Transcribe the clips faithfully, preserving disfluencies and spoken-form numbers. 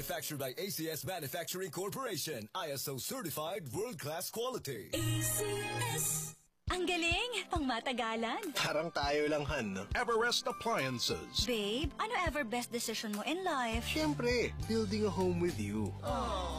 Manufactured by A C S Manufacturing Corporation, I S O certified world-class quality. A C S. Ang galing! Pangmatagalan! Parang tayo lang, Han, no? Everest Appliances. Babe, ano ever best decision mo in life? Siyempre, building a home with you.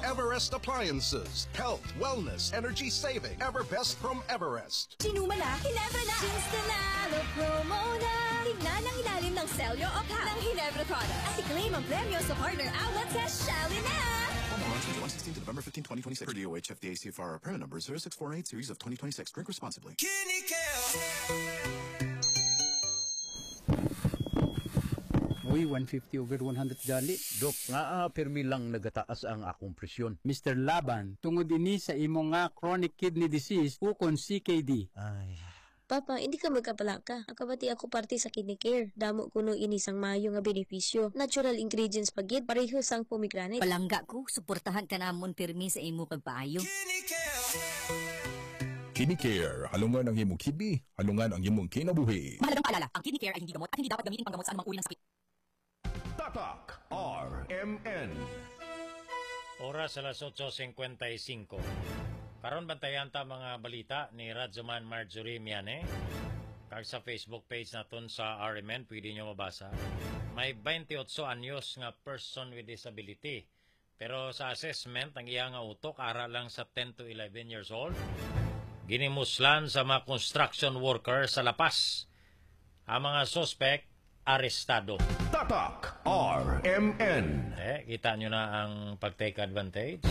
Everest Appliances. Health, wellness, energy saving. Everbest from Everest. Sinuma na, Ginebra na! Ginstanalo promo na! Tingnan ang ilalim ng selyo o pack ng Ginebra products at i-claim ang premyo sa partner outlet sa Shali na! Promo runs from July sixteen to November fifteen, twenty twenty-six. Per D O H F D A C F R, permit number zero six four eight series of twenty twenty-six. Drink responsibly. Uy, one fifty over one hundred gali. Dok, nga, ah, pirmi lang nagataas ang akong presyon. Mister Laban, tungod ini sa imo nga chronic kidney disease ukon C K D. Ay. Papa, hindi ka magkapalaka. Ang kabati ako parte sa Kidney Care. Damo kuno ini sang maayo nga benepisyo. Natural ingredients pa gid, pareho sang pomegranate. Palangga ko, suportahan ka namon pirmi sa imo pagpaayo. Kidney Care, halungan ang imong kidney, halungan ang imong kinabuhi. Mahalagang paalala, ang Kidney Care ay hindi gamot at hindi dapat gamitin panggamot sa anumang uri ng sakit. Tatak R M N. Oras alas otso cincuenta y cinco. Karon bantayan ta mga balita ni Radyoman Marjorie Miane. Kag sa Facebook page naton sa R M N, pwede nyo mabasa. May twenty-eight anyos nga person with disability. Pero sa assessment, ang iya nga utok ara lang sa ten to eleven years old. Ginimuslan sa mga construction worker sa La Paz. Ang mga suspek arestado. Tatak R M N. Eh, kita nyo na ang pag-take advantage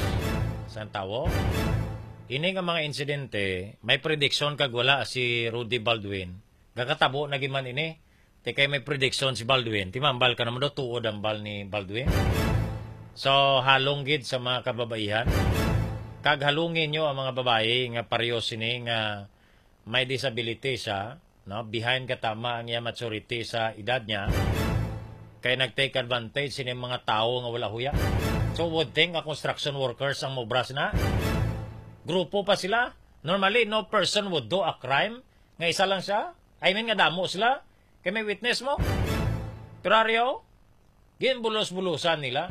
sa tawo. Ini nga mga insidente, may prediction kag wala si Rudy Baldwin. Gakatabo na giman ini. Ti kay may prediction si Baldwin. Timambal ka naman daw, tuod ang bal ni Baldwin. So, halong gid sa mga kababaihan. Kag halungin nyo ang mga babayi nga pareho sini nga may disability siya, no? Behind katama ang iya maturity sa edad niya. Kay nag-take advantage sini mga tawo nga wala huya. So, would think nga construction workers ang mobras na. Grupo pa sila. Normally, no person would do a crime nga isa lang siya. I mean nga damo sila. Kay may witness mo. Pero ari, oh, ginbulos-bulusan nila.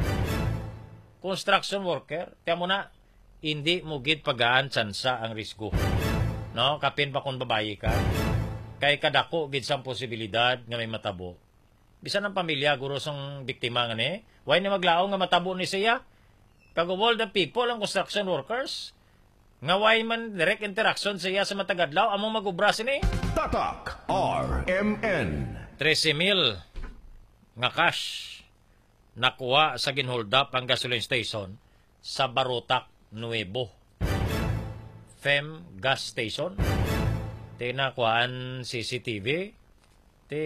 Construction worker, tiyan mo na, hindi mo gid pagaan tsansa ang risgo. No? Kapin pa kung babayi ka. Kay kadako gid sang posibilidad nga may matabo. Bisan ang pamilya, guro sang biktima nga ni, why ni maglaom nga matabo ni siya? Kag of all the people, ang construction workers, nga why man direct interaction sa iya sa matag adlaw, amo mag-obra sini. Tatak R M N. Trese mil nga cash nakuha sa ginholdap ang gasoline station sa Barotac Nuevo. Fem gas station. Tinakuhaan C C T V. Ti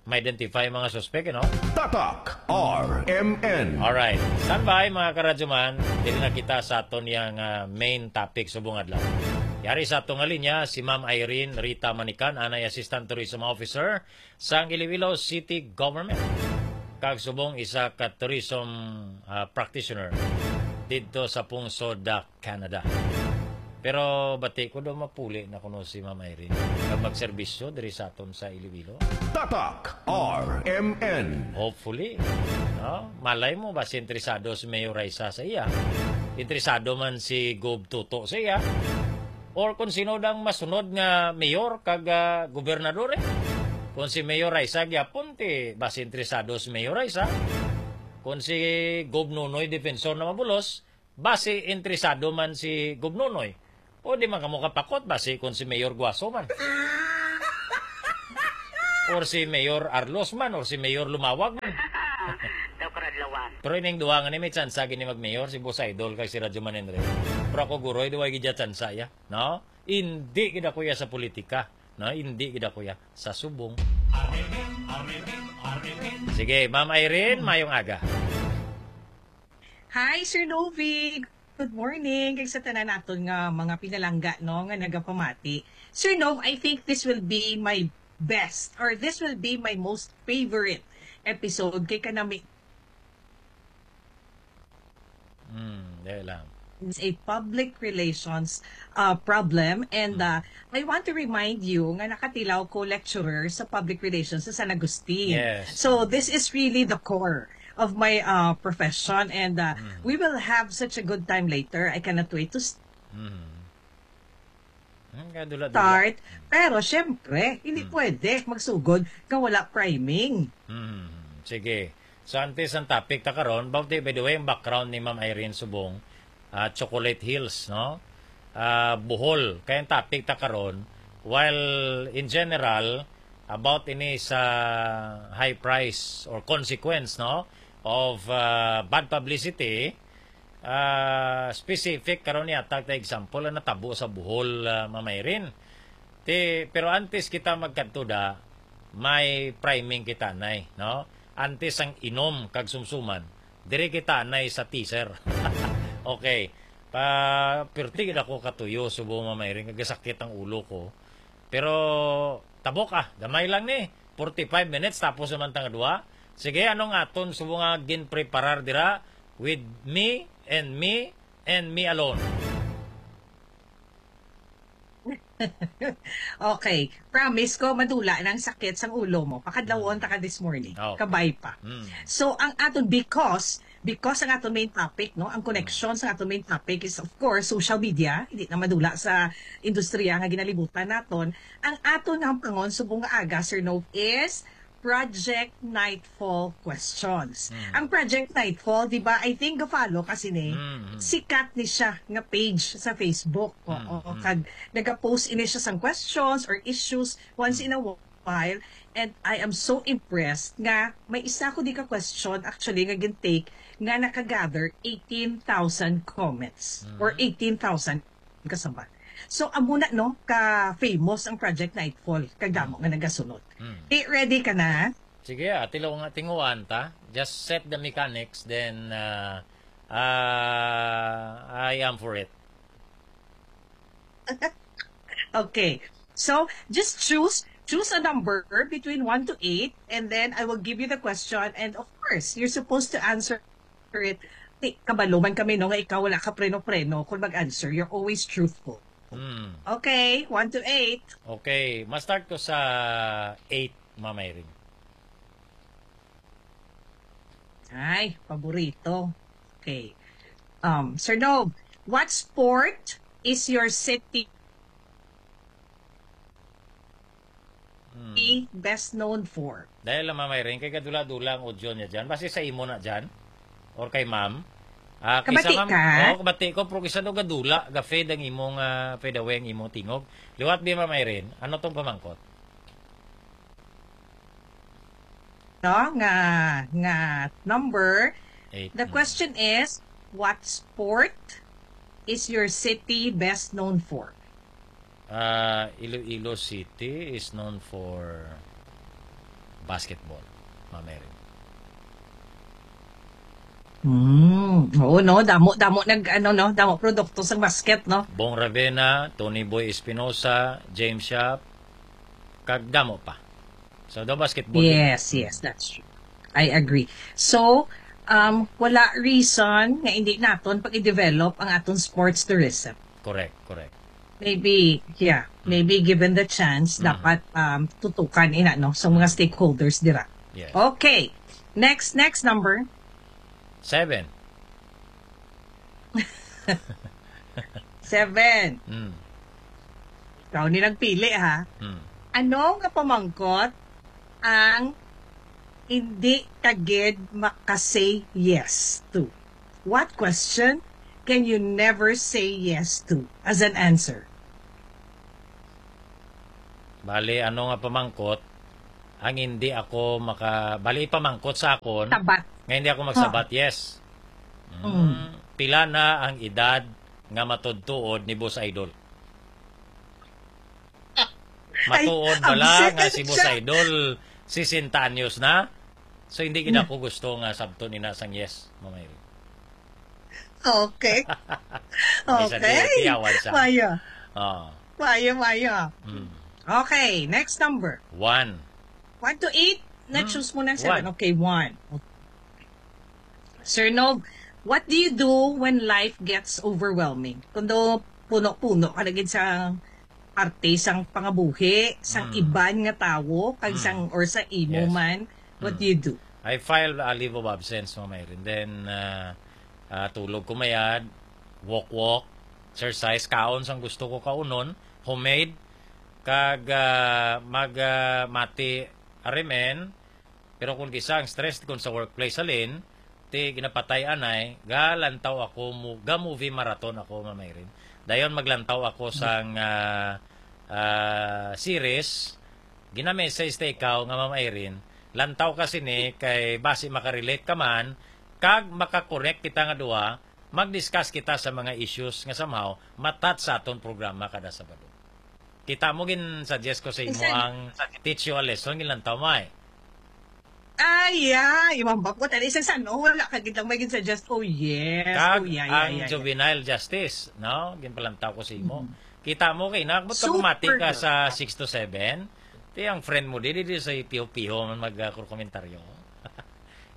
ma-identify mga suspek, eh, no? Tatak R M N. Alright. Standby, mga karadyoman. Diri na kita sa aton yang, ah, main topic subong adlaw. Yari sa aton nga linya, si Ma'am Irene Rita Manican, anay Assistant Tourism Officer sang Iloilo City Government. Kag subong isa ka tourism, ah, practitioner didto sa pungsod, ah, Canada. Pero bati ko daw mapuli na kuno si Ma'am Irene kag magserbisyo diri sa aton sa Iloilo. Tatak R M N. Hopefully. No? Malay mo ba si interesado si Mayor Raisa sa iya? Interesado man si Gov Toto sa iya? Or kung sino dang masunod nga mayor kag, ah, gobernador, eh? Kung si Mayor Raisa gyapon, ti basi interesado si Mayor Raisa. Kung si Gov Nonoy defensor na mabulos, basi interesado man si Gov Nonoy. O di man kamo kapakot, basi kung si Mayor Guaso man. Or si Mayor Arlos man, or si Mayor Lumawag man. Daw karadlawan. Pero ining duha nga ni may tsansa gini mag-mayor, si Boss Idol kag si Radyo Man Henry. Pero ako, guroy, di way gid tsansa, ya. No? Hindi gid ako ya sa politika. No? Hindi gid ako ya sa subong. Sige, Ma'am Irene, mayong aga. Hi, Sir Novi. Good morning. Kag sa tanan naton nga mga pinalangga, no, nga nagapamati. Sir Nov, I think this will be my best, or this will be my most favorite episode kay kanami. Hmm, dali lang. It's a public relations, uh, problem, and, Hmm. uh, I want to remind you nga nakatilaw ko lecturer sa public relations sa San Agustin. Yes. So, this is really the core. of my uh, profession, and uh, Mm. we will have such a good time later. I cannot wait to s- Mm. Ang kadula-dula. Start. Pero syempre, hindi Hmm. pwede magsugod kung wala priming. Hmm. Sige. So, antes ang topic ta karon, by the, by the way, ang background ni Ma'am Irene Subong, ah, Chocolate Hills, no? Ah, Bohol. Kaya ang topic ta karon, while in general, about ini sa high price or consequence, no, of ah, bad publicity, ah, specific karon ni atag ta example ang natabo sa Bohol, ah, Ma'am Irene. Ti, pero antes kita magkadto da, may priming kita, nay, no? Antes ang inom kag sumsuman, diri kita, nay, sa teaser. Okay. Pa, pirti gid ako katuyo, Subong, Ma'am Irene, kag sakit ang ulo ko. Pero tabok, ah, gamay lang ni. Forty-five minutes, tapos naman tang duha. Sige, anong aton, Subong, nga ginpreparar dira? With me, and me, and me alone. Okay. Promise ko, madula na ang sakit sang ulo mo. Pakadlawon ta ka this morning. Okay. Kabay pa. Mm. So, ang aton, because, because ang aton main topic, no, ang connection sa aton main topic is, of course, social media. Hindi na madula sa industriya nga ginalibutan naton. Ang aton nga pangon subong nga aga, Sir Nov, is Project Nightfall Questions. Mm. Ang Project Nightfall, di ba, I think, ga-follow kasi ni, Mm, mm. sikat ni siya nga page sa Facebook. Oo, Mm, mm. kag nagapost ini siya sang questions or issues once in a while. And I am so impressed nga may isa ko di ka question actually nga gintake nga nakagather eighteen thousand comments or Mm. eighteen thousand kasabat. So, amo na, no, ka famous ang Project Nightfall, kag damo nga nagasunod. Mm. Eh, ready ka na? Sige, ah, tilo nga tinguan ta. Just set the mechanics, then uh, uh, I am for it. Okay. So, just choose choose a number between one to eight, and then I will give you the question, and of course, you're supposed to answer it. Ti, kabalo man kami, no, nga ikaw wala ka preno-preno kung mag-answer. You're always truthful. Hmm. Okay, one to eight. Okay, ma-start ko sa eight, Ma'am Irene. Ay, paborito. Okay. Um, Sir Dog, what sport is your city Hmm. best known for? Dahil lang, Ma'am Irene, kay gadula-dula ang audio niya dyan. Basi sa imo na dyan. Or kay Ma'am. Ah, kisa Kabati Ma'am, ka? Oo, kabati ko, pero kisa daw gadula, ga-fade ang imong, ah, fade away ang imong tingog. Liwat bi, Ma'am Irene, ano tong pamangkot? No, nga, nga number. Eight. The Mm. question is, what sport is your city best known for? Ah, Iloilo City is known for basketball, Ma'am Irene. Hmm. Oo, no? Damo, damo nag, ano, no? Damo produkto sa basket, no? Bong Ravena, Tony Boy Espinosa, James Shop, kag damo pa. So, the basketball. Yes, yes, that's true. I agree. So, um, wala reason nga hindi naton pag-i-develop ang aton sports tourism. Correct, correct. Maybe, yeah, maybe given the chance, Mhm. dapat um, tutukan ina, no, sa mga stakeholders dira. Yes. Okay. Next, next number. Seven. Seven. Mm. Ikaw ni nagpili, ha? Mm. Ano nga pamangkot ang hindi ka gid maka-say yes to? What question can you never say yes to as an answer? Bali, ano nga pamangkot ang hindi ako maka... Bali, ipamangkot sa akon Sabat. Nga hindi ako magsabat yes. Mm. Pila na ang edad nga matudtuod ni Boss Idol? Matuod Ay, bala absent nga na si Boss siya. Idol sesenta anyos na? So, hindi gid ako gusto nga sabton ina sang yes, Ma'am Irene. Okay. May sa Okay. di, tiyawan siya. Maya. Oh. Maya, maya. Mm. Okay, next number. One. One to eight. Hmm. Na-choose mo ng seven. One. Okay, one. Sir Nog, what do you do when life gets overwhelming? Kung do puno-puno ka na gid sa parte sang pangabuhi, sang Hmm. iban nga tawo, kag Hmm. sang, or sa imo Yes. man, what Hmm. do you do? I file a leave of absence, Ma'am Irene. Then, ah, ah, tulog ko mayad, walk-walk, exercise, kaon sang gusto ko kaunon, homemade, kag, ah, mag, ah, mati, arimen. Pero kung kisa ang stress, kung sa workplace, halin, ti ginapatay anay, galantaw ako mo, ga-movie marathon ako, Ma'am Irene. Dayon maglantaw ako sang, ah, ah, series, gina-message ta ikaw nga, Ma'am Irene, lantaw ka sini kay basi makarelate ka man, kag makakorek kita nga duha, mag-discuss kita sa mga issues nga somehow matat sa aton programa kada Sabado. Kita mo, gin-suggest ko sa imo Isa- ang teach you a lesson, ginlantaw mo ay. Ay, yeah. Imang bako, tali sa sano, wala ka gid lang may gin-suggest. Oh, yes. Kag Oh, yeah, yeah, ang yeah, yeah. Juvenile justice, no? Ginpalantaw ko sa imo. Mm. Kita mo kay nakabot ka Super bumati ka good. sa six to seven. Ti ang friend mo, di, di, di sa piho-piho man mag, ah, komentaryo.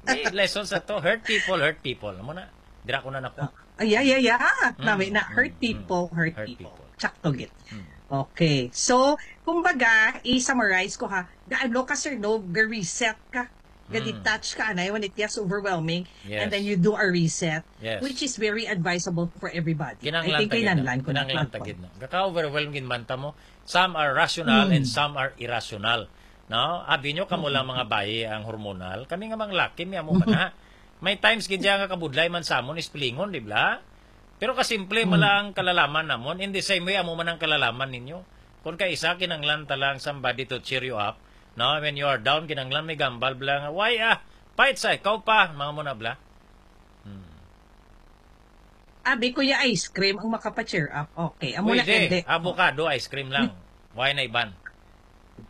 Di, lesson sa to. Hurt people, hurt people. Amo na. Dira ko na nako. Ah, ay, ay, ay, ay. Mm, Nami na, hurt mm, people, mm. hurt Hurt people. people. Sakto gid. Mm. Okay. So, kumbaga, i-summarize ko ha. Gaano ka, Sir Nov, ga-reset ka? Mm. Ga-detach ka, anay, when it gets overwhelming, and Yes. then you do a reset, Yes. which is very advisable for everybody. I Kinanglan think ta gid na. kinanglan ko na Kinanglan ta platform. gid na. Kaka-overwhelm gid man ta mo. Some are rational Mm. and some are irrational. No? Abi nyo, kamo lang Mm. mga bayi ang hormonal. Kami nga mga laki, may amo man Mm-hmm. na. May times gid siya nga kabudlay man sa amon, ispelingon, di ba? Pero kasimple man Mm. lang ang kalalaman namon. In the same way, amo man ang kalalaman ninyo. Kung kay isa, kinanglan ta lang somebody to cheer you up. No? When you are down, kinanglan may gambal bla nga, "Why ah? Fight sa ikaw pa." Mga mo na bla. Hmm. Abi, kuya, ice cream ang makapa-cheer up. Okay, amo na Pwede. kende. Avocado ice cream lang. Why na iban?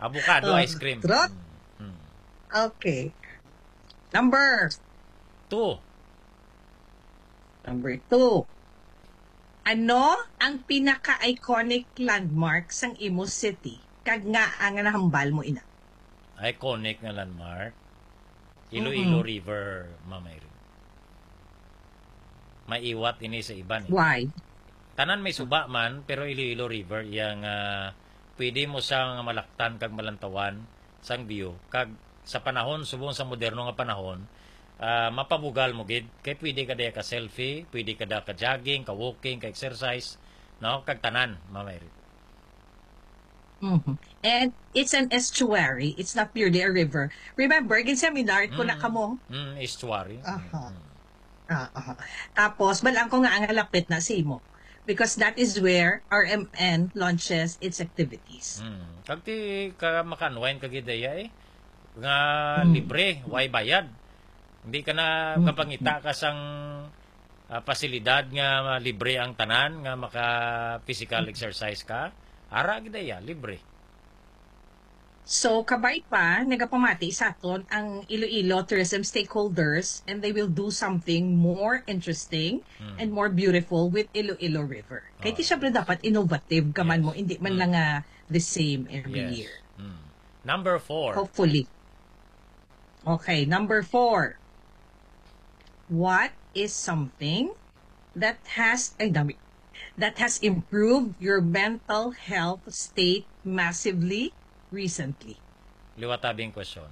Avocado Oh, ice cream. trot. Hmm. Hmm. Okay. Number. Two. Number two. Ano ang pinaka-iconic landmark sang imo city? Kag nga ang nahambal mo ina? Iconic nga landmark? Iloilo Mm-mm. River, Ma'am Irene. Maiwat ini sa iban eh. Why? Tanan may suba man, pero Iloilo River, iyang, ah, pwede mo sang malaktan kag malantawan sang view. Kag sa panahon, subong sa moderno nga panahon, ah, mapabugal mo gid. Kay pwede ka diya ka selfie, pwede ka diya ka jogging, ka walking, ka exercise, no? Kag tanan, Ma'am Irene. Mhm. And it's an estuary. It's not purely a river. Remember, gin-seminar ko na Mm. kamo. Mm, estuary. Aha. Mm, mm. Ah, aha. Tapos, balaan ko nga ang halapit na sa imo. Because that is where R M N launches its activities. Mm. Kag ti ka maka-unwind ka gid diya eh. Nga Mm. libre, way bayad. Hindi ka na Mm. kapangita ka sang, ah, pasilidad nga libre ang tanan, nga maka-physical Mm. exercise ka. Ara gid diya, libre. So, kabay pa, nagapamati sa aton ang Iloilo tourism stakeholders, and they will do something more interesting Hmm. and more beautiful with Iloilo River. Kay ti Oh, syempre yes. dapat innovative ka man Yes. mo, hindi man Hmm. lang nga the same every Yes. year. Hmm. Number four. Hopefully. Okay, number four. What is something that has, ay, dami, that has improved your mental health state massively recently? Liwat abi ang question.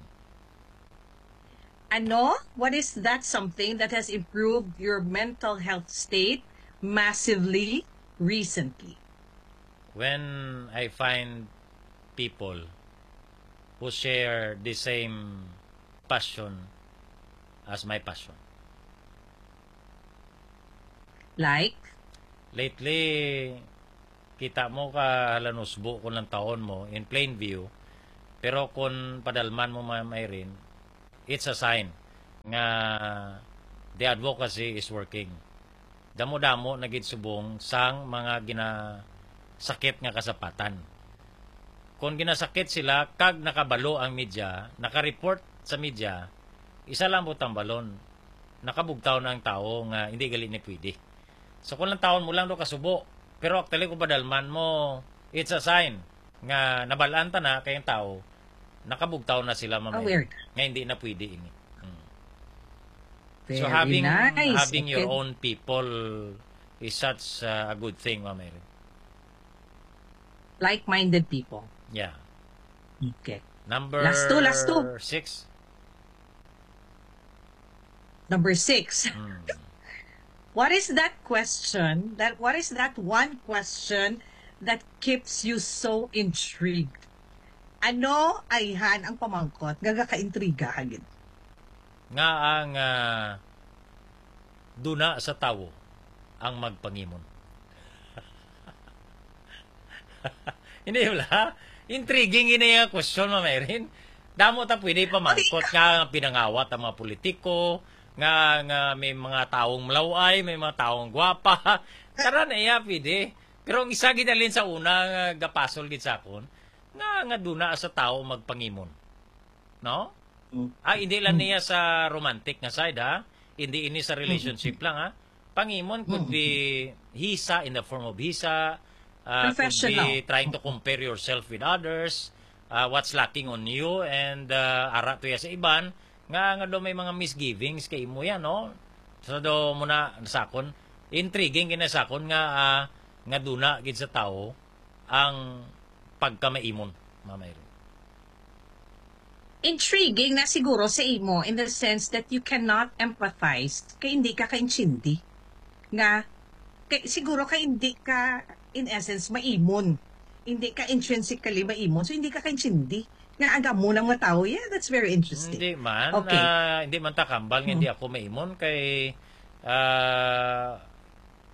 Ano? What is that something that has improved your mental health state massively recently? When I find people who share the same passion as my passion. Like? Lately, kita mo ka halanusbo kung lantawon mo in plain view, pero kung padalman mo, Ma'am Irene, it's a sign nga the advocacy is working. Damo-damo na gid subong sang mga ginasakit nga kasapatan. Kung ginasakit sila kag nakabalo ang media, naka-report sa media, isa lang po tambalon, nakabugtaw na ang tao nga hindi gali ni pwede. So kung lantawon mo lang do kasubo, pero actually kung padalman mo, it's a sign nga nabalaan ta na kay ang tao, nakabugtaw na sila, Ma'am Irene, Aware. nga hindi na pwede ini. Hmm. So Very having nice. having your Okay. own people is such, uh, a good thing, Ma'am Irene. Like-minded people. Yeah. Okay. Number Last two, last two. six. Number six. Hmm. What is that question, that, what is that one question that keeps you so intrigued? Ano ayhan ang pamangkot nga gakaintriga gid? Nga ang, ah, duna sa tawo ang magpangimon. Hindi, wala. Intriguing ini nga question, Ma'am Irene. Damo ta pwede pamangkot nga pinangawat ang mga politiko, nga, nga may mga taong malaway, may mga taong gwapa. Tara na iya, pwede. Pero ang isa gid halin sa una nga gapasol gid sa akon, nga, nga duna sa tawo magpangimon. No? Mm. Ah, hindi lang Mm. niya sa romantic nga side, ha? Hindi ini sa Mm. relationship lang, ha? Pangimon could Mm. be hisa in the form of hisa, ah, could Professional. be trying to compare yourself with others, ah, what's lacking on you, and, ah, ara to ya sa iban, nga, nga daw may mga misgivings kay imo yan, no? So, do mo na sa akon, intriguing gid na sa akon nga, ah, nga duna gid sa tawo ang pagkamaimon, Mama Irene. Intriguing na siguro sa imo in the sense that you cannot empathize kay hindi ka kaintindi. Nga, kay, siguro kay hindi ka, in essence, maimon. Hindi ka intrinsically maimon, so hindi ka kaintindi. Nga ang amo ng mga tao, yeah, that's very interesting. Hindi man, Okay. ah, hindi man ta kambal nga Hmm. hindi ako maimon kay, ah,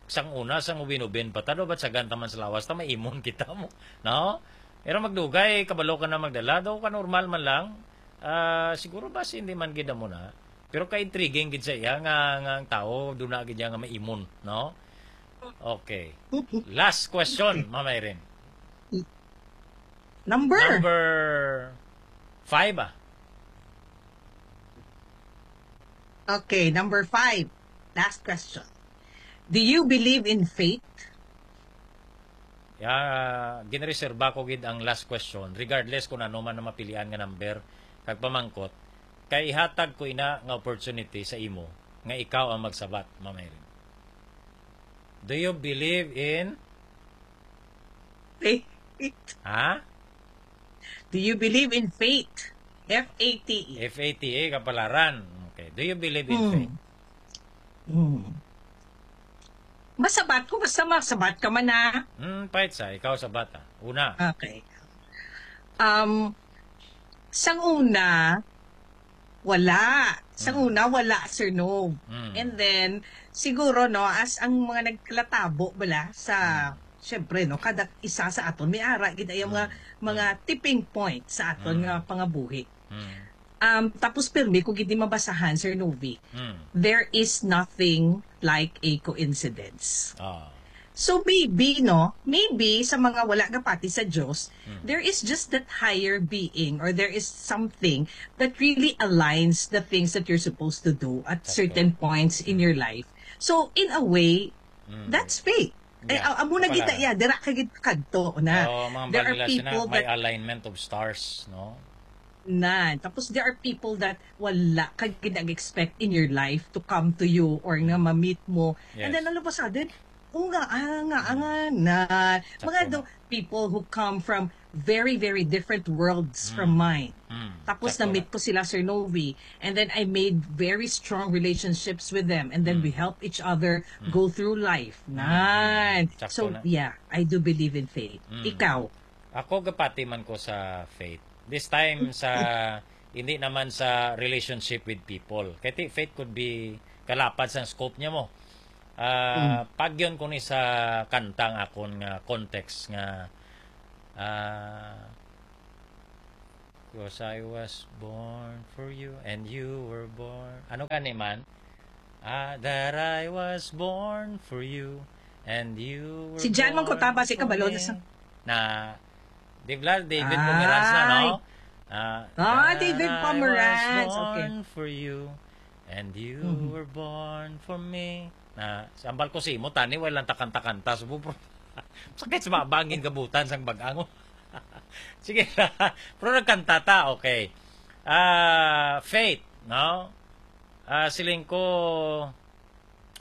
sang una, sang ubin-ubin pa ta, do, ba't sa ganta man sa lawas ta, maimon kita mo, no? Pero magdugay, kabalo ka na magdala, do, ka normal man lang. Ah, siguro ba si hindi man gid mo na. Pero ka-intriguing gid sa iya nga, nga ang tao, duna gid iya nga maimon, no? Okay. Last question, Mama Irene. Number. Number five, ah. Okay, number five. Last question. Do you believe in fate? Ya, ginreserba ko gid ang last question, regardless kung ano man ang mapilian nga number kag pamangkot, kay ihatag ko ina nga opportunity sa imo nga ikaw ang magsabat, Ma'am Irene. Do you believe in Fate. Ha? Do you believe in fate? F A T E. F A T A, kapalaran. Okay. Do you believe in Hmm. faith? Hmm. Masabat ko, basta masabat ka man na. Hmm, pahit sa, ikaw sabat, ah. Una. Okay. Um, sang una, wala. Sang Hmm. una, wala, Sir Nov. Hmm. And then, siguro, no, as ang mga naglatabo bala sa, Hmm. syempre, no, kada isa sa aton, may ara gid ay mga, Hmm. mga Hmm. tipping point sa aton Hmm. nga pangabuhi. Hmm. Um, tapos pirmi ko gid ni mabasahan, Sir Novi. Hmm. There is nothing like a coincidence. Ah. So maybe, no, maybe sa mga wala gapati sa Dios, Hmm. there is just that higher being, or there is something that really aligns the things that you're supposed to do at Sakto. certain points in Hmm. your life. So in a way, Hmm. that's fate. Eh, Yeah. a-, amo na Kapalaran. kita, yeah, dira ka gid kadto na. Oo, mga There are balila sina, people may that alignment of stars, no? Na. Tapos there are people that wala ka gid nag-expect in your life to come to you or nga Mm. ma-meet mo. And Yes. then all of a sudden, "Oh, nga, ah, nga, ah, Mm. nga na." Mga Sakto do-, na. people who come from very, very different worlds from Mm. mine. Mm. Tapos Sakto na. na-meet ko sila, Sir Novi. And then I made very strong relationships with them. And then we Mm. help each other Mm. go through life. Mm. Nan. Sakto So, na. yeah, I do believe in faith. Mm. Ikaw? Ako, gapati man ko sa faith. This time, sa, hindi naman sa relationship with people. Kay ti-, faith could be kalapad sang scope niya mo. Ah, Mm. pagyon ko ni sa kanta nga akon nga context nga, ah, 'Cause I was born for you and you were born. Ano gani man? Ah, that I was born for you and you were Si John man ko born taba, si for kabalo na me. sa Na, di ba, David Pomeranz na, no? Ay. Ah, Ah, that David I was Pomeranz. Okay. born for you and you Mhm. were born for me. Na, sambal ko si imo, tani, walang takanta-kanta. Subo, bro. Sakit sa mga bangin gabutan sang bagang. Sige na. Pero nagkanta ta, okay. Ah, faith, no? Ah, siling ko,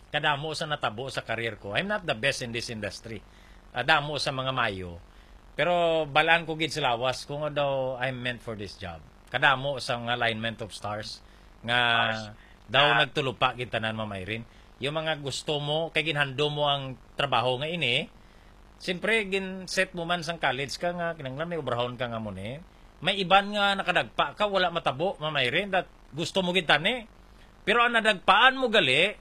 kadamo sa natabo sa career ko. I'm not the best in this industry. Ah, damo sa mga mayo. Pero balaan ko gid sa lawas kung ano daw I'm meant for this job. Kadamo sa mga alignment of stars nga Stars. Daw Ah. nagtulupa gid tanan, Ma'am Irene. Yung mga gusto mo, kay ginhandom mo ang trabaho nga ini, siyempre, gin-set mo man sang college ka nga, kinahanglan may obrahon ka nga mo ni. May iban nga nakadagpa ka, wala matabo, Ma'am Irene, that gusto mo gid tani. Pero ang nadagpaan mo gali,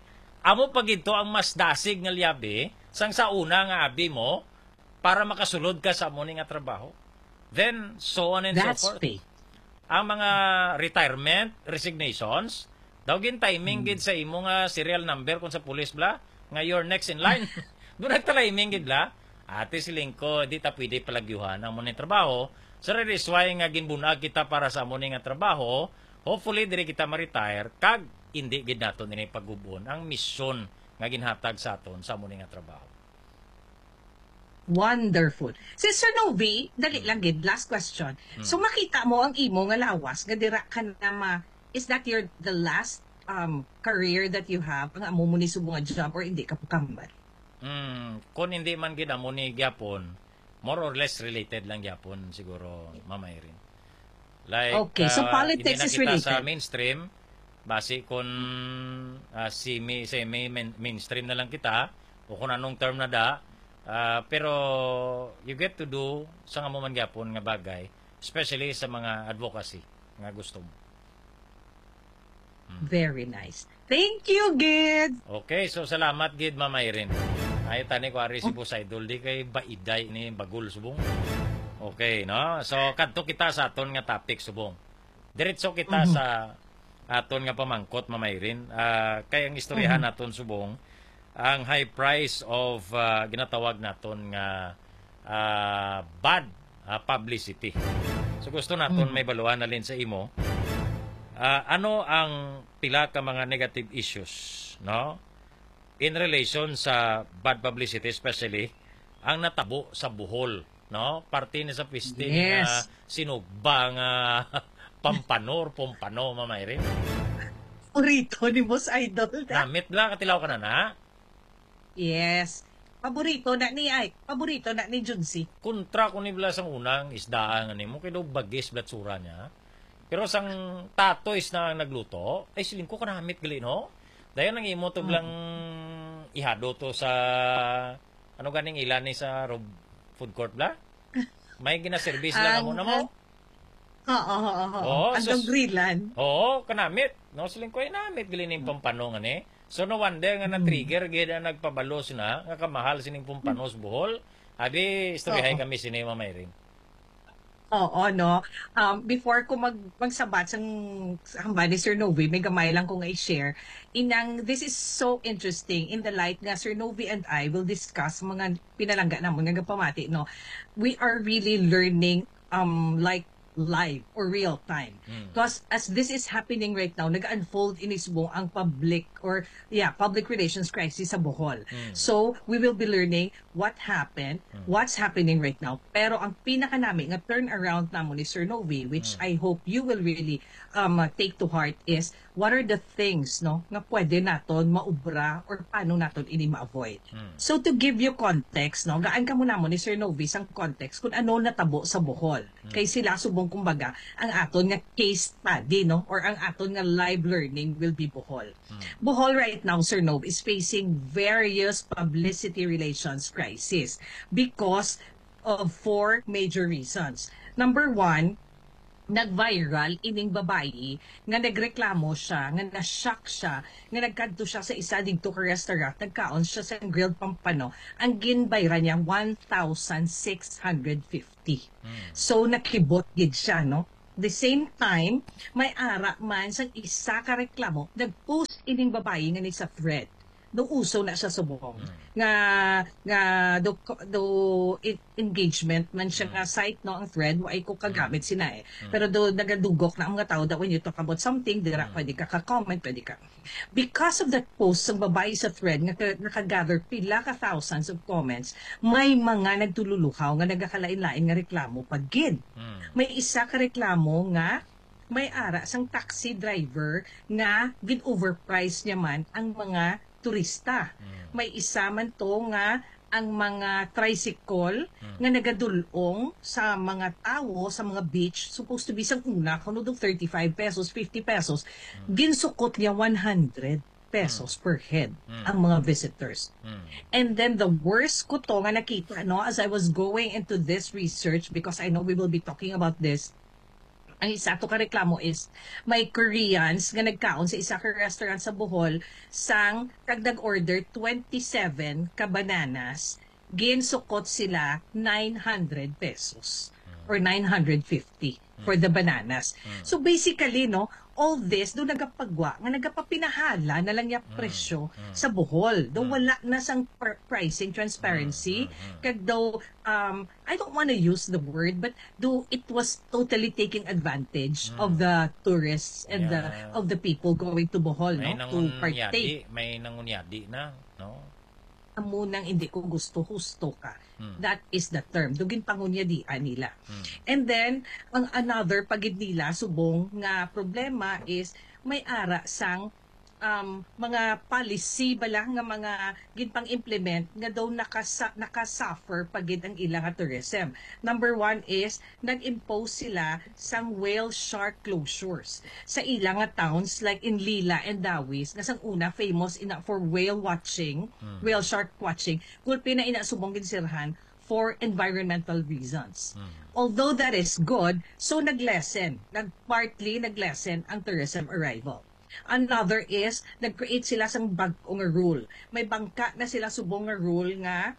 amo pa gid to ang mas dasig nga liyabi, sang sa una nga abi mo, para makasulod ka sa amo ni nga trabaho. Then, so on and so That's forth. Faith. Ang mga retirement, resignations, daw gin-timing Mm. gid sa imo nga serial number kung sa pulis bla, nga you're next in line. Doon nagta-timing gid bla. Ate, siling ko, di ta pwede palagyuhan ang amo ni trabaho. So, that is why nga ginbunag kita para sa amo ni nga trabaho. Hopefully, diri kita ma-retire, kag hindi gid naton ini pagubon ang misyon nga ginhatag sa aton sa amo ni nga trabaho. Wonderful. Sister Novi, dali Mm. lang gid, last question. Mm. So, makita mo ang imo nga lawas nga dira ka na ma-, is that your, the last, um, career that you have? Ang amo mo ni subong nga job or hindi ka pakambal? Mm, kung hindi man gid amo ni gyapon, more or less related lang gyapon siguro, Mama Irene. Like, Okay, so ah, politics hindi na is kita sa related. mainstream, basi kung, ah, semi, semi main-, mainstream na lang kita, o kung anong term na da, ah, pero you get to do sa nga mo man gyapon nga bagay, especially sa mga advocacy nga gusto mo. Mm. Very nice. Thank you, gid. Okay, so salamat gid, Ma'am Irene. Ay, tani ko ari si Oh. Boss Idol, di kay baiday ni bagol subong. Okay, no? So, kadto kita sa aton nga topic subong. Diretso kita Mhm. sa aton nga pamangkot, Ma'am Irene. Ah, kay ang istoryahan Mhm. naton subong, ang high price of, ah, ginatawag naton nga, ah, bad, ah, publicity. So, gusto naton Mhm. may baluan halin sa imo. Ah, ano ang pila ka mga negative issues, no? In relation sa bad publicity, especially ang natabo sa Bohol, no? Parte ni sa piste ni nga Yes. sinugba nga pampano or pompano, Ma'am Irene. Paborito ni Boss Idol na. Namit bla, katilaw ka na na? Yes. Paborito na ni, ay, paborito na ni Junsi. Kontra ko ni bla sang unang isdaan nga nimo, kay daw bagis bla tsura niya. Pero sang tatoys na ang nagluto, ay, siling ko kanamit gali, no? Dayon ang imo to Mm. blang ihado to sa, ano ganing ilan ni sa Rob Food Court bla? May ginaservice lang Ang, amo na mo. ah, oo, oo, oo. Oo, Ang sus- dogrilan. Oo, kanamit. No, siling ko, ay, namit gali ning pampano nga ni. So, no wonder nga Mm. na-trigger gid ang nagpabalos na nga kamahal sining pampanos Bohol. Abi, istoryahay Oo. kami sini, Ma'am Irene. Oo, no? Um, before ko mag-, magsabat sang, sa hambal ni Sir Novi, may gamay lang ko nga i-share. Inang, this is so interesting in the light nga Sir Novi and I will discuss mga pinalangga namon nga gapamati, no? We are really learning, um, like, live or real time. Mm. 'Cause as this is happening right now, nag-unfold ini subong ang public or, yeah, public relations crisis sa Bohol. Mm. So, we will be learning what happened, Mm. what's happening right now. Pero ang pinakanami nga turnaround namo ni Sir Novi, which Mm. I hope you will really, um, uh, take to heart, is what are the things, no, nga pwede naton maubra or paano naton ini ma-avoid. Mm. So, to give you context, no, gaan kamo namo ni Sir Novi sang context kung ano natabo sa Bohol. Mm. Kay sila subong, kumbaga, ang aton nga case study, no, or ang aton nga live learning will be Bohol. Mm. Bohol right now, Sir Nov, is facing various publicity relations crisis because of four major reasons. Number one, nag-viral ining babayi nga nagreklamo siya, nga na-shock siya, nga nagkadto siya sa isa didto ka restaurant, nagkaon siya sa grilled pampano, ang ginbayran niya one thousand six hundred fifty. Mm. So, nakibot gid siya, no? The same time, may ara man sang isa ka reklamo, nag-post ining babayi nga ni sa thread. No, uso na siya subong. Mm. Nga, nga do, do en-, engagement man siya Mm. nga site, no, ang thread, wa ay ko kagamit Mm. sina eh. Mm. Pero do, nagadugok na ang mga tao that when you talk about something, dira Mm. pwede ka ka-comment, pwede ka. Because of that post sang babayi sa thread nga ka-, nakagather pila ka thousands of comments, may mga nagtululuhaw nga nagakalain-lain nga reklamo pa gid. Mm. May isa ka reklamo nga may ara sang taxi driver nga gin-overprice niya man ang mga turista. Mm. May isa man to nga ang mga tricycle Hmm. nga nagadulong sa mga tawo sa mga beach, supposed to be sang una kuno dong thirty-five pesos, fifty pesos, Hmm. ginsukot niya one hundred pesos per head Hmm. ang mga visitors. Hmm. And then the worst ko to nga nakita, no, as I was going into this research, because I know we will be talking about this, ang isa to ka reklamo is may Koreans nga nagkaon sa isa ka restaurant sa Bohol sang kag nag-order twenty-seven ka bananas, ginsukot sila nine hundred pesos or nine hundred fifty for the bananas. Mm. So basically, no, all this do nagapagwa nga nagapapinahala na lang niya Mm. presyo Mm. sa Bohol. Do Mm. wala na sang pr- pricing transparency. Mm, mm, mm. Kag daw, um, I don't want to use the word, but do it was totally taking advantage Mm. of the tourists and the Yeah. of the people going to Bohol, May no, to partake. Nangunyadi, may nangunyadi na, no? Amo nang hindi ko gusto, husto ka. Hmm. That is the term. Do ginpangunyadian nila. Hmm. And then, ang another pa gid nila subong nga problema is may ara sang, um, mga policy bala nga mga ginpang-implement nga daw nakasa- nakasuffer pa gid ang ila nga tourism. Number one is nag-impose sila sang whale shark closures sa ila nga towns, like in Lila and Dawis, nga sang una famous ina for whale watching, Hmm. whale shark watching, gulpi na ina subong ginsirhan for environmental reasons. Hmm. Although that is good, so nag-lessen, nag-, partly nag-lessen ang tourism arrival. Another is, nag-create sila sang bag-o nga rule. May bangka na sila subong nga rule nga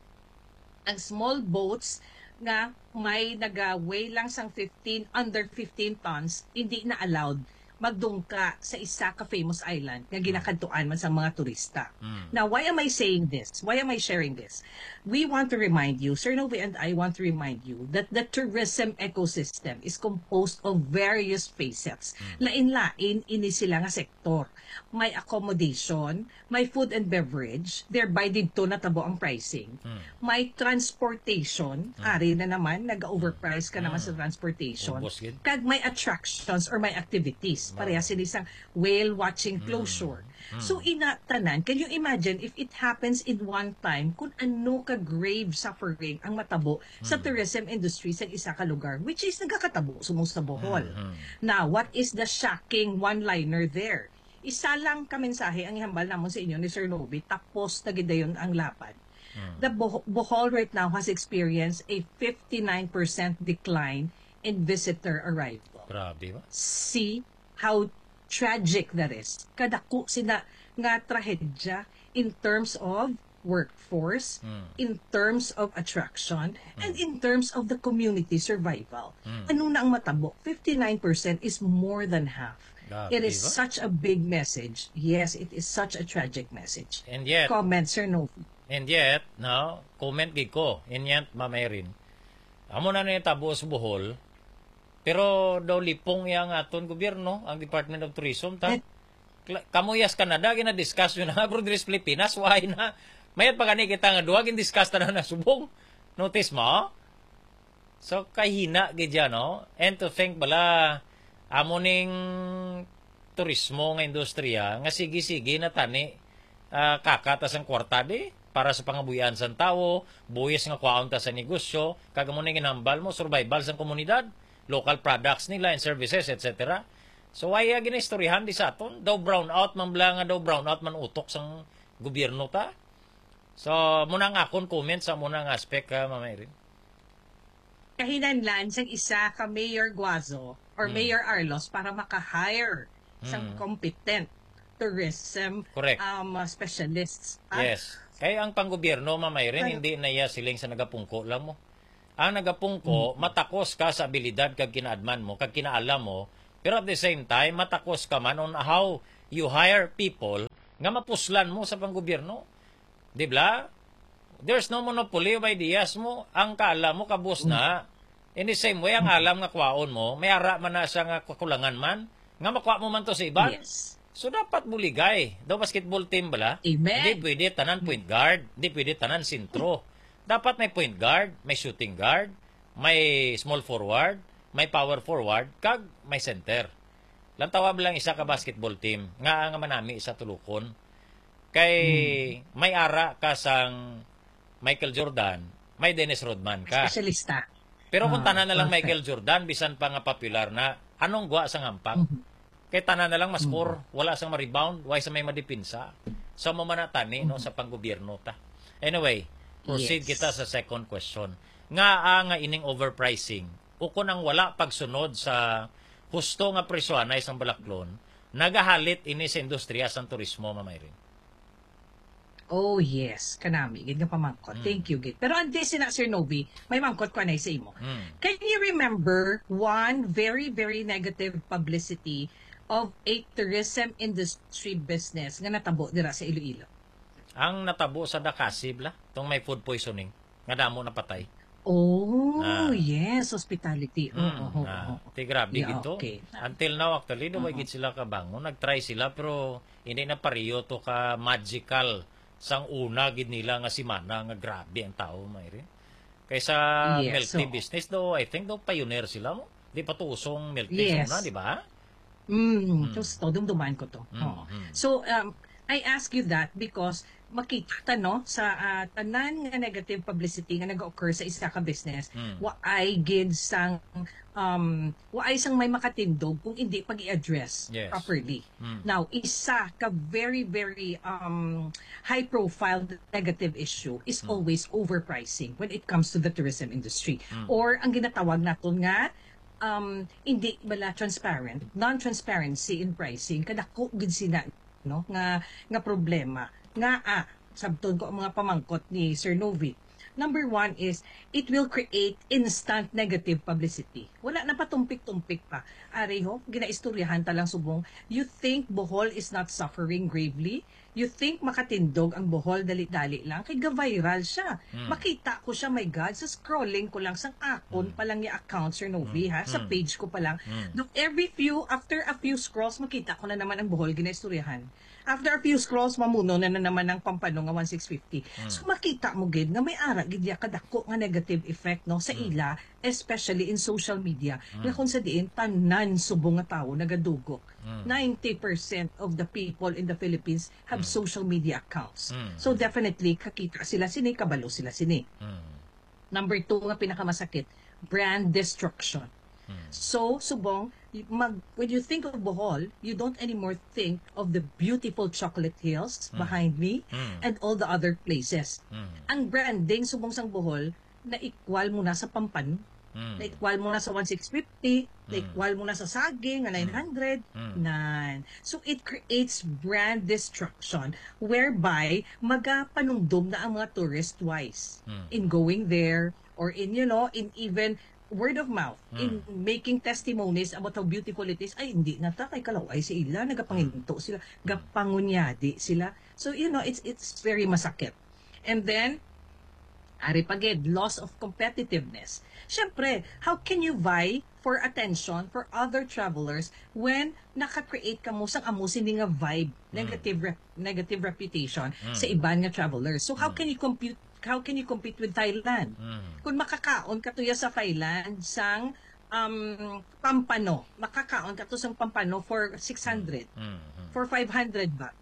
ang small boats nga may naga-weigh lang sang fifteen, under fifteen tons, hindi na allowed magdungka sa isa ka famous island nga ginakadtuan man sang mga turista. Mm. Now, why am I saying this? Why am I sharing this? We want to remind you, Sir Novi and I want to remind you that the tourism ecosystem is composed of various facets. Mm. Lain-lain ini sila nga sektor. May accommodation, may food and beverage, thereby didto natabo ang pricing. Mm. May transportation, Mm. ari na naman, nag-overprice ka naman sa Mm. transportation. Ubos gid. Kag may attractions or may activities. Ba- Pareha sini sang whale watching Mm. closure. Mm. So, ina tanan, can you imagine if it happens in one time, kung ano ka grave suffering ang matabo sa Mm. tourism industry sa isa ka lugar, which is nagakatabo subong sa Bohol. Mm, mm. Now, what is the shocking one-liner there? Isa lang ka mensahe ang ihambal namon sa inyo ni Sir Novi, tapos na gid dayon ang laban. Mm. The Boh- Bohol right now has experienced a fifty-nine percent decline in visitor arrival. Grabe ba? See how tragic that is. Kadako sina nga trahedya in terms of workforce, Mm. in terms of attraction, and Mm. in terms of the community survival. Mm. Ano na ang matabo? Fifty-nine percent is more than half. Grabe It is ba? such a big message. Yes, it is such a tragic message. And yet, Comment, Sir Novi. and yet, no, comment gid ko. And yet, Ma'am Irene, amo na ni tabo sa Bohol, pero daw lipong iya ang aton gobyerno, ang Department of Tourism. Ta, Eh. Kla- kamo iya sa Canada, gina-discuss nyo na nga, pero diri sa Pilipinas, why na? Mayat pa gani kita nga duha, gin-discuss ta na na subong. Notice mo? So, kahina gid yan, no? And to think bala, amo ning turismo nga industriya, nga sige-sige na tani, ah, kaka ta sang kwarta di, para sa pangabuhian sang tawo, buhis nga kwaon ta sa negosyo, kag amo ning ginhambal mo, survival sang komunidad, local products nila and services, et cetera. So, why, ah, ginaistoryahan di sa aton? Daw brown out man bala nga, daw brown out man utok sang gobyerno ta. So, muna ang akon comment sa muna nga aspect, ah, Mama Irene. Kahinanlan sang isa ka Mayor Guazo or Hmm. Mayor Arlos para maka-hire sang Hmm. competent tourism Correct. um, uh, specialists. Ah, Yes. Kay ang panggobyerno, Mama Irene, Kaya- hindi na iya siling sa nagapungko lang mo. Ang nagapungko, Mm. matakos ka sa abilidad kag kinaadman mo, kag kinaalam mo, pero at the same time, matakos ka man on how you hire people nga mapuslan mo sa panggobyerno. Di ba? There's no monopoly of ideas mo. Ang kaalam mo, kabus na. In the same way, ang alam nga kwaon mo, may ara man na siya nga kakulangan man, nga makuha mo man to sa iban. Yes. So, dapat buligay. Daw basketball team bala? Amen. Hindi pwede tanan point guard, hindi pwede tanan sentro. Dapat may point guard, may shooting guard, may small forward, may power forward, kag may center. Lantawa mo lang isa ka basketball team nga, nga manami sa tulukon. Kay may ara ka sang Michael Jordan, may Dennis Rodman ka. Espesyalista. Pero kung Ah, tanan na lang perfect. Michael Jordan, bisan pa nga popular na, anong gwa sa ngampak? Mhm. Kay tanan na lang ma-score, Mhm. wala sang ma-rebound, why sa may madipinsa? Sa mo man na tani, no, Mhm. sa panggobyerno ta. Anyway, proceed Yes. kita sa second question. Nga, ah, nga ining overpricing, o kung ang wala pagsunod sa husto nga presyohanay sang balaklon, nagahalit ini sa industriya sang turismo, Ma'am Irene. Oh yes, kanami gid nga pamangkot. Mm. Thank you gid. Pero antes sina, Sir Novi, may mangkot ko anay sa imo. Mm. Can you remember one very, very negative publicity of a tourism industry business nga natabo dira sa Iloilo? Ang natabo sa Dakasi, bla, tong may food poisoning, nga damo napatay. Oh, Ah. yes, hospitality. Oo, Mm, oo, ah, oo. Ti grabe Yeah, gid to. Okay. Until now, actually, daw Oo. gid sila kabangon. Nag-try sila, pero hindi na pareho to ka magical sang una gid nila nga simana nga grabe ang tao, Ma'am Irene. Kaysa Yes, milk tea oo. business, daw, I think, daw pioneer sila mo. Di pa to usong milk tea sa Yes. una, di ba? Mm, Mm. so, so, dumduman ko to. Mm, Oo. mm. So, um, I ask you that because makita ta, no, sa, ah, tanan nga negative publicity nga nag-occur sa isa ka business, Mm. waay gid sang, um, waay sang may makatindog kung hindi pag-i-address Yes. properly. Mm. Now, isa ka very, very, um, high-profile negative issue is Mm. always overpricing when it comes to the tourism industry. Mm. Or ang ginatawag naton nga, um, hindi bala transparent, non-transparency in pricing, kadako gid sina, no, nga, nga problema. Nga, ah, sabton ko ang mga pamangkot ni Sir Novi. Number one is, it will create instant negative publicity. Wala na patumpik-tumpik pa. Ari ho, ginaistoryahan ta lang subong, you think Bohol is not suffering gravely? You think makatindog ang Bohol dali-dali lang? Kay ga-viral siya. Mm. Makita ko siya, my God, sa scrolling ko lang, sang akon Mm. pa lang yung account, Sir Novi, Mm. ha, sa Mm. page ko pa lang. Mm. Do every few, after a few scrolls, makita ko na naman ang Bohol ginaistoryahan. After a few scrolls, mamuno na, na naman ang Pampano nga one six fifty. Mm. So, makita mo gid nga may ara gid ya kadako nga negative effect, no, sa Mm. ila, especially in social media, nga Mm. kung sa diin, tanan subong nga tawo nagadugok. Mm. Ninety percent of the people in the Philippines have Mm. social media accounts. Mm. So, definitely, kakita sila sini, kabalo sila sini. Mm. Number two nga pinakamasakit, brand destruction. Mm. So, subong, y-, mag, when you think of Bohol, you don't anymore think of the beautiful chocolate hills Mm. behind me Mm. and all the other places. Mm. Ang branding subong sang Bohol, na-equal mo na sa Pampano, Mm. na-equal mo na sa one six fifty, Mm. na-equal mo na sa saging nga Mm. nine hundred, Mm. nan. So, it creates brand destruction whereby magapanumdom na ang mga tourist twice Mm. in going there or in, you know, in even word of mouth, in Mm. making testimonies about how beautiful it is. Ay, hindi na ta, kay kalaw-ay sa ila, nagapanginto sila, gapangunyadi sila. So, you know, it's it's very masakit. And then, ari pa gid, loss of competitiveness. Siyempre, how can you vie for attention for other travelers when naka-create ka mo sang amo sini nga vibe, Mm. negative rep-, negative reputation Mm. sa iban nga travelers? So, how Mm. can you compute, how can you compete with Thailand? Mm. Kung makakaon ka tuya sa Thailand sang, um, pampano, makakaon ka to sang pampano for six hundred, Mm. Mm. for five hundred ba?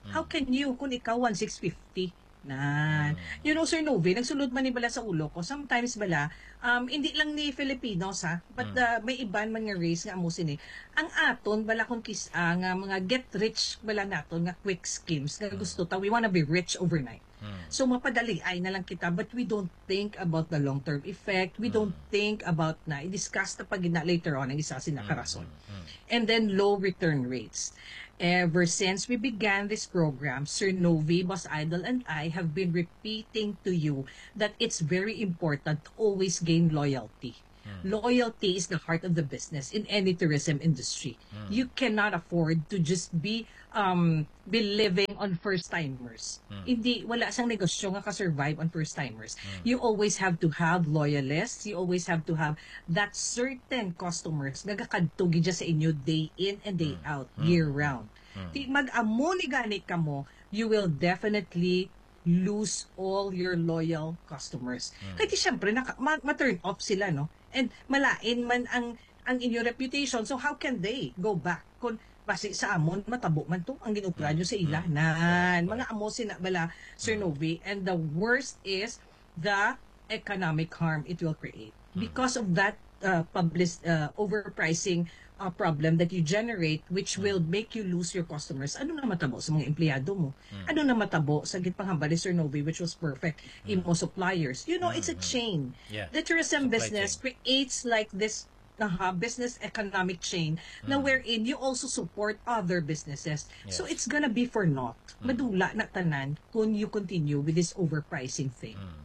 How Mm. can you kung ikaw one six fifty? Na, Mm. you know, Sir Novi, nagsulod man ni bala sa ulo ko. Sometimes bala, um, hindi lang ni Filipinos, ha, but Mm. uh, may iban man nga race nga amo sini. Ang aton bala kung kis-, ah, nga mga get rich bala naton nga quick schemes nga Mm. gusto ta, we wanna be rich overnight. Mm. So, mapadaliay na lang kita, but we don't think about the long-term effect. We don't Mm. think about na, i-discuss na pag na later on ang isa sina Mm. karason. Mm. And then, low return rates. Ever since we began this program, Sir Novi, Boss Idol, and I have been repeating to you that it's very important to always gain loyalty. Mm. Loyalty is the heart of the business in any tourism industry. Mm. You cannot afford to just be, um, be living on first-timers. Mm. Hindi, wala sang negosyo nga ka-survive on first-timers. Mm. You always have to have loyalists. You always have to have that certain customers nga gakadto gid sa inyo day in and day Mm. out, Mm. year round. Mm. Di mag-amo ni gani kamo, you will definitely lose all your loyal customers. Mm. Kay di syempre, naka, ma, ma-turn off sila, no? And malain man ang, ang inyong reputation, so how can they go back? Kung basi sa amon, matabo man to, ang ginupra nyo sa ila. Mm. Nan, correct, mga amo sina bala, Sir Novi. And the worst is the economic harm it will create because of that uh, public uh, overpricing uh, problem that you generate, which will make you lose your customers. Ano na matabo sa mga empleyado mo? Ano na matabo sa ginpanghambal ni Sir Novi, which was perfect, imo suppliers? You know, it's a chain. Yeah. The tourism business creates like this uh, business economic chain na wherein you also support other businesses. So it's gonna be for naught. Madula na tanan kung you continue with this overpricing thing. Mhm.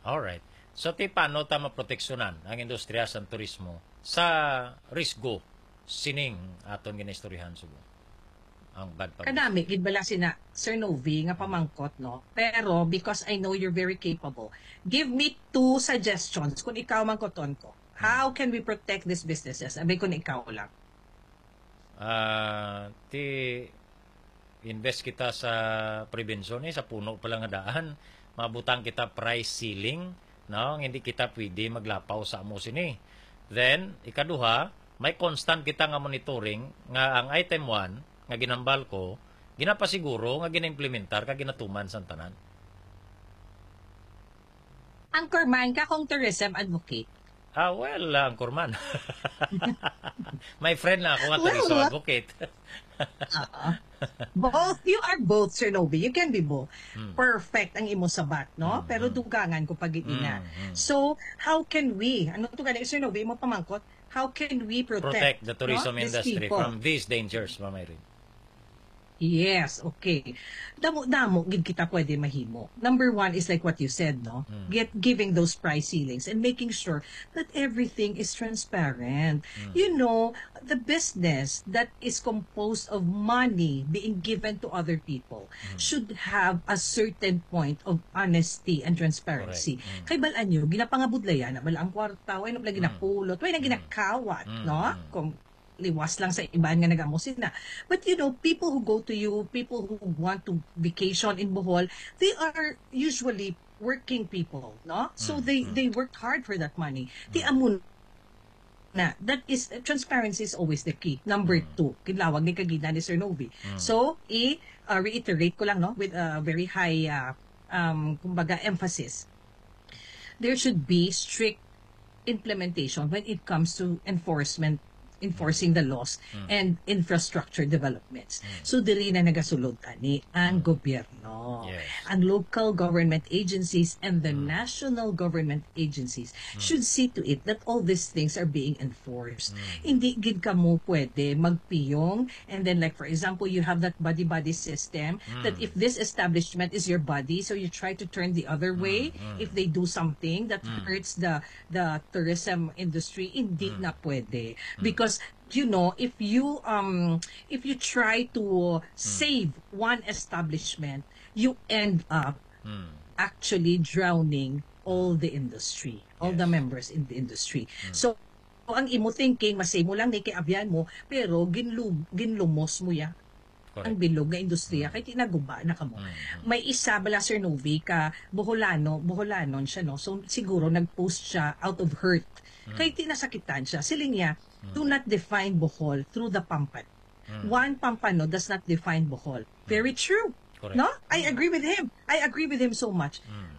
Alright. So, ti paano ta maproteksyonan ang industriya sa turismo sa risgo sining aton ginaistoryahan, Subo? Ang bad publicity. Kadami gid bala sina Sir Novi nga pamangkot, no? Pero because I know you're very capable, give me two suggestions kung ikaw mangkoton ko. How can we protect these businesses? Abay, kung ikaw lang. Ah, ti invest kita sa prevention, eh, sa puno pa lang nga daan. Mabutang kita price ceiling, no? Hindi kita pwede maglapaw sa amo sini. Then, ikaduha, may constant kita nga monitoring nga ang item one nga ginambal ko, ginapasiguro nga ginaimplementar kag ginatuman sang tanan. Anchorman ka kung tourism advocate. Ah, well, ah, Anchorman. My friend lang ako nga Well, tourism what? Advocate. Oo. Both, you are both, Sir Novi. You can be both. Hmm. Perfect ang imo sabat, no? Hmm, Pero hmm. Dugangan ko pag ina. Hmm, hmm. So, how can we, ano to gani, Sir Novi, imo pamangkot? How can we protect, Protect the tourism no, these industry people? From these dangers, Ma'am Irene. Yes, okay. Damo-damo gid kita pwede mahimo. Number one is like what you said, no? Mm. Get giving those price ceilings and making sure that everything is transparent. Mm. You know, the business that is composed of money being given to other people Mm. should have a certain point of honesty and transparency. Correct. Mm. Kay bal-an nyo, ginapangabudlayan na bala ang kwarta, way na bala Mm. ginapulot, way na Mm. ginakawat, Mm, no? mm. Kung liwas lang sa iban nga nag-amo sina. But you know, people who go to you, people who want to vacation in Bohol, they are usually working people, no? So Mm, they mm. they worked hard for that money. Ti Mm. amo na, that is, transparency is always the key. Number Mm. two, kinlawag ni kagina ni Sir Novi. Mm. So, i-reiterate ko lang, no, with a very high, uh, um, kumbaga, emphasis. There should be strict implementation when it comes to enforcement, enforcing the laws Mm. and infrastructure developments. Mm. So, diri na nagasulod ani ang Mm. gobyerno. Yes. Ang local government agencies and the Mm. national government agencies Mm. should see to it that all these things are being enforced. Mm. Hindi gid kamo pwede magpiyong and then, like, for example, you have that buddy-buddy system that Mm. if this establishment is your buddy, so you try to turn the other way Mm, mm. if they do something that Mm. hurts the the tourism industry. Hindi Mm. na pwede. Mm. Because, you know, if you, um, if you try to save one establishment, you end up Mm. actually drowning all the industry, all the Yes. members in the industry. Mm. So, ang imo thinking, masave mo lang ni kay abyan mo, pero ginlu-, ginlumos mo ya Correct. ang bilog nga industriya, Mm. kay tinaguba na kamo. Mm, mm. May isa bala, Sir Novi, ka Boholano, Boholanon siya, no? So, siguro nag-post siya out of hurt. Mm. Kay tinasakitan siya. Siling niya, Mm. "Do not define Bohol through the Pampan. Mm. One Pampano does not define Bohol." Very true. Correct. No? I agree with him. I agree with him so much. Mm.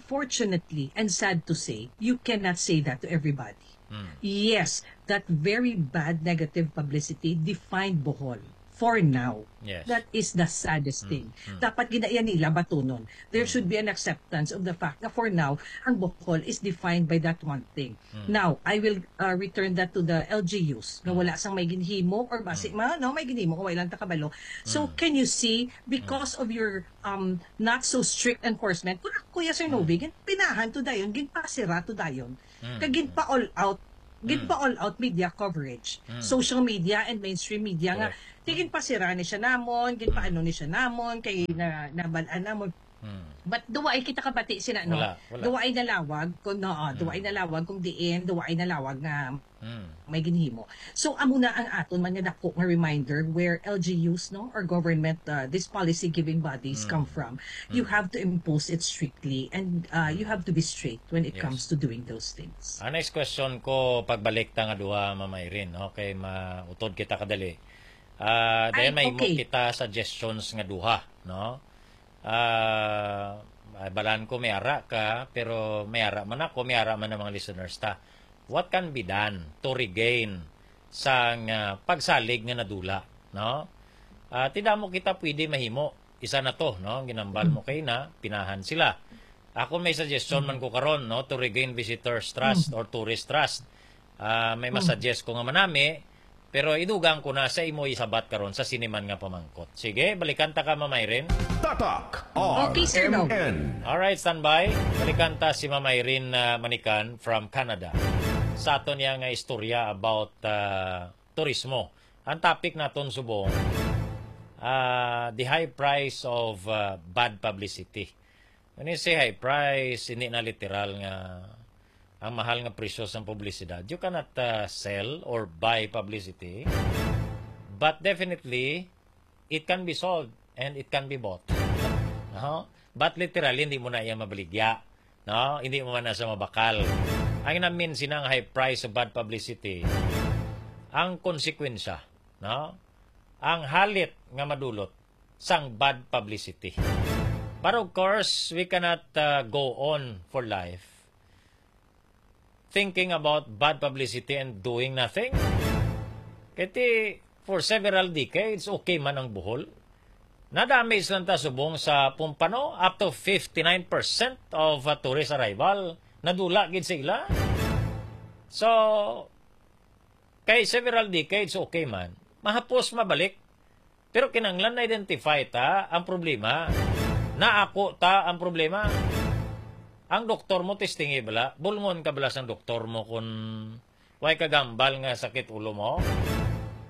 Unfortunately, and sad to say, you cannot say that to everybody. Mm. Yes, that very bad negative publicity defined Bohol for now. Yes. That is the saddest Mm, thing. mm. Dapat ginaiya nila batunon. There Mm. should be an acceptance of the fact na for now, ang Bohol is defined by that one thing. Mm. Now, I will uh, return that to the L G Us na Mm. wala sang may ginhimo or basi Mm. ma, no, may ginhimo o wala lang takabalo. So, Mm. can you see, because of your um not so strict enforcement, kung ako, Kuya Sir Mm. Novi, ginpinahan to dayon, ginpasira to dayon. Mm. Kag ginpa-all out, Mm. ginpa-all out media coverage. Mm. Social media and mainstream media nga, Correct. "Sige, ginpasira ni siya namon, ginpaano ni siya namon, kay na, nabalaan namon." Mm. But duwa ay kita kabati sina, no? Wala, wala. Duwa ay nalawag kung, no, ah, duwa ay Mm. nalawag kung diin, duwa ay nalawag nga Mm. may ginhimo. So, amo na ang aton man nga dako nga reminder where L G Us, no, or government, uh, these policy-giving bodies Mm. come from. You Mm. have to impose it strictly and uh, you Mm. have to be strict when it Yes. comes to doing those things. Ang next question ko, pagbalik ta nga duha, Mama Irene, no? Kay mautod kita kadali. Ah, dayon Ay, may imo okay. kita suggestions nga duha, no? Ah, ay, balaan ko may ara ka, pero may ara man ako, may ara man ang mga listeners ta. What can be done to regain sang ah, pagsalig nga nadula, no? Ah, ti damo kita pwede mahimo. Isa na to, no? Ang ginambal mo kay na pinahan sila. Ako may suggestion man ko karon, no, to regain visitors trust or tourist trust. Ah, may masuggest ko nga manami, pero idugang ko na sa imo isabat karon sa siniman nga pamangkot. Sige, balikan ta ka, Ma'am Irene. Tatak Okay, Sir Dong. R M N. Alright, standby. Balikan ta si Ma'am Irene ah, Manikan from Canada. Sa aton niya nga istorya about ah, turismo. Ang topic naton subong, ah, the high price of ah, bad publicity. When you say high price, hindi na literal nga ang mahal nga presyo sang publisidad. You cannot ah, sell or buy publicity. But definitely, it can be sold and it can be bought. No? But literally, hindi mo na iya mabaligya. No? Hindi mo man na siya mabakal. Ang namin sinang high price of bad publicity, ang konsekwensya, no? Ang halit nga madulot sang bad publicity. But of course, we cannot uh, go on for life thinking about bad publicity and doing nothing. Kaya for several decades, okay man ang Bohol. Na-damage lang ta subong sa Pompano, up to fifty-nine percent of uh, tourist arrival, nadula gid sa ila. So, kay several decades, okay man. Mahapos mabalik. Pero kinahanglan na-identify ta ang problema. Naako ta ang problema. Ang doktor mo, testingi bala. Bulngon ka bala sang doktor mo kung way kagambal nga sakit ulo mo.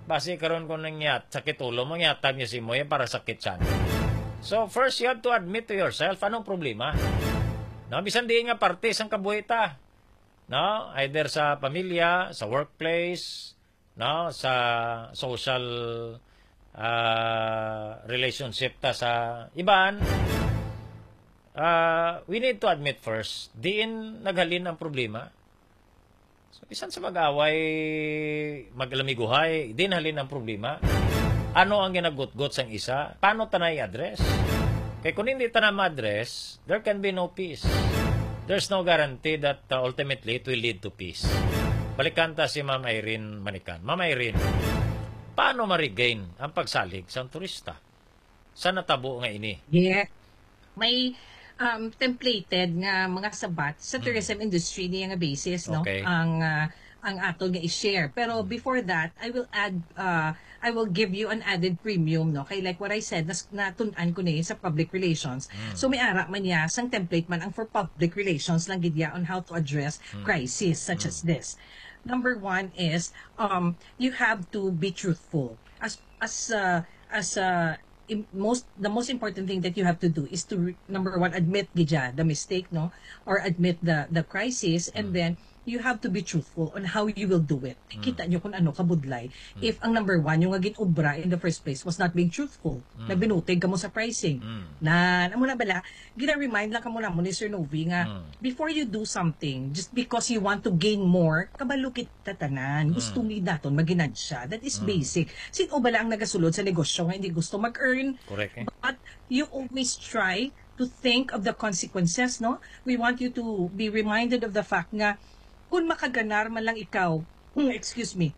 Basi karon kung nangyat sakit ulo mo, ngyatag niyo si mo yan para sakit siya. So first, you have to admit to yourself anong problema. No, bisan di nga parte sang kabuhi ta. No, either sa pamilya, sa workplace, no, sa social ah, relationship ta sa iban. Ah, we need to admit first, diin naghalin ang problema. So, bisan sa mag-away, maglamiguhay, diin halin ang problema. Ano ang ginagutgot sang isa? Paano ta na i-address? Kay kung hindi ta na ma-address, there can be no peace. There's no guarantee that uh, ultimately it will lead to peace. Balikan ta si Ma'am Irene Manikan. Ma'am Irene, paano ma-regain ang pagsalig sa turista sa natabo nga ini? Yeah. May um, templated nga mga sabat sa tourism industry niya nga basis, no? Okay. Ang ah, ang ato nga i-share. Pero before that, I will add uh, I will give you an added premium, no? Kay like what I said, nas natun-an ko ni sa public relations. So may ara man niya sang template man ang for public relations lang gid ya on how to address crisis such as this. Number one is um you have to be truthful. As as uh, as uh, im- most the most important thing that you have to do is to re- number one, admit gid ya the mistake, no, or admit the the crisis, and then you have to be truthful on how you will do it. Kita nyo kung ano kabudlay. If ang number one, yung nga gin-obra in the first place was not being truthful, na binutig ka mo sa pricing. Na, amo na bala, gina-remind lang ka mo namo ni Sir Novi nga before you do something, just because you want to gain more, kabalo kita tanan. Gusto ni daton maginansya. That is basic. Sino bala ang nagasulod sa negosyo nga hindi gusto mag-earn? Correct, eh? But you always try to think of the consequences, no? We want you to be reminded of the fact nga kung makaganar man lang ikaw, excuse me,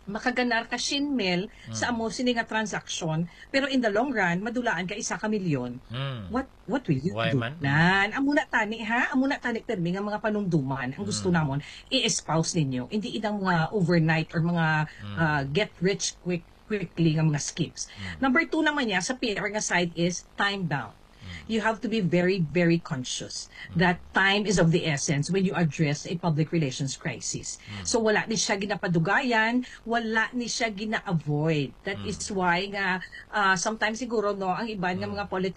makaganar ka shin mil sa amo sini nga transaction, pero in the long run madulaan ka isa ka milyon. Hmm. What what will you Why do? Man? Nan, amo na tani ha, amo na tani permi nga mga panumduman ang gusto namon i-espouse ninyo. Hindi idang mga overnight or mga uh, get rich quick quickly nga mga schemes. Number two naman niya sa P R nga side is time bound. You have to be very, very conscious that time is of the essence when you address a public relations crisis. So wala ni siya ginapadugayan, wala ni siya gina-avoid. That is why nga uh, sometimes siguro, no, ang iban nga mga